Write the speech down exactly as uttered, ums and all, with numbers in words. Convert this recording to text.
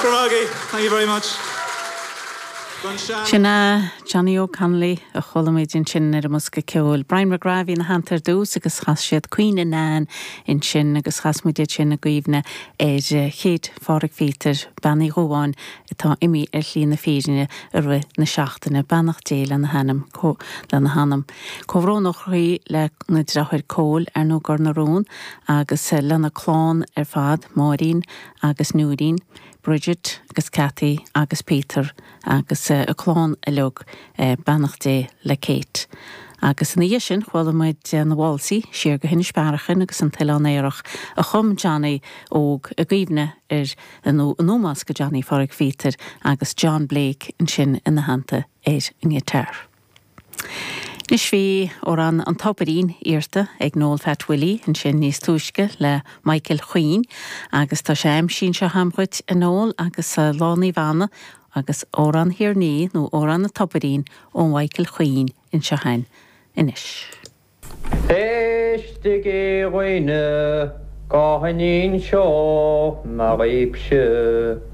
Grmagi, thank you very much. Sin é Johnny Óg Connolly a chuala muid ansin ar an mbosca ceoil. Brian McGrath ina theannta ar dtús agus chas siad Caoineadh Nan ansin agus chas muid sin i gcuimhne ar Chéit Phádraig Phíotair Bean Uí Dhubháin atá imithe ar shlí na fírinne i rith na seachtaine beannacht Dé lena hanam lena hanam. Comhbhrón ó chroí le na deartháir Cóil ar nó gur na rún agus lena clann ar fad Máirín agus Núirín. Bridget agus Cathy agus Peter agus uh, a clann uilig uh, beannacht Dé le Kate. Agus ina dhiaidh sin chuala muid na válsaí siar go hInis Bearachain agus an tOileán Aerach a chum Johnny óg i gcuimhne ar nó in ómós do Johnny Phádraig Phíotair agus John Blake ansin ina theannta ar an ngiotár. Anois bhí amhrán an Tobairín iarrta ag Noel Phat Willie ansin níos túisce le Michael Chuinn agus tá sé aimsithe anseo agam dhuit a Noel agus Lá Naomh Anna agus amhrán Thír an Fhia nó amhrán an Tobairín ó Michael Chuinn anseo againn anois. Éistigí a dhaoine go n-inseoidh mé dhaoibhse.